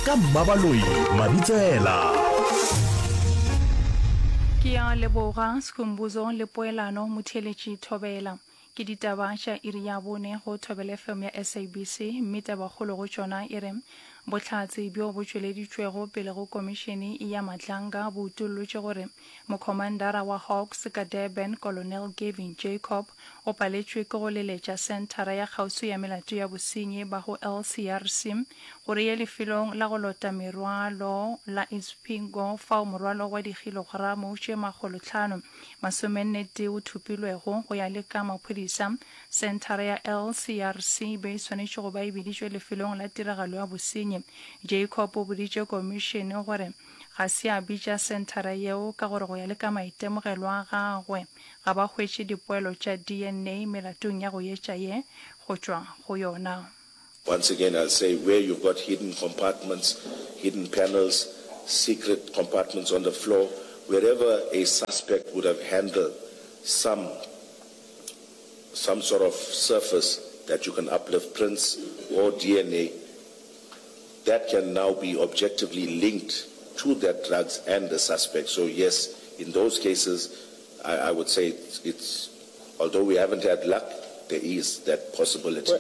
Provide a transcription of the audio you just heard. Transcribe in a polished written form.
Ka Mmabaloi Mabitsela. Ke a leboga Skhumbuzo le Poelano Motheeletši Thobela. Ke ditaba tša iri ya bone go Thobela FM ya SABC mme tabakgolo go tšona e re bohlatse bjo bo tšweleditšwego pele go komišene ya Madlanga bo utollotše gore Mokhomandara wa Hawks ka Durban, Colonel Gavin Jacob, o paletšwe ke go leletša senthara ya kgauswi ya melato ya bosenyi ba go LCRC gore e ye lefelong la go lota merwalo la Isipingo fao morwalo wa dikhilogramo tše makgolotlhano masomennetee o thopilwego. Go ya le ka maphodisa, senthara ya LCRC e be e swanetše go ba e biditšwe lefelong la tiragalo ya bosenyi. Jacob o boditše komišene gore Ga se a bitša senthara yeo ka gore go ya le ka maitemogelo a gagwe ga ba hwetše dipoelo tša DNA melatong ya go etša ye go tšwa go yona. Once again I'll say where you've got hidden compartments, hidden panels, secret compartments on the floor, wherever a suspect would have handled some some sort of surface that you can uplift prints or DNA, that can now be objectively linked to that drugs and the suspect. So yes, in those cases, I, I would say it's, it's, although we haven't had luck, there is that possibility.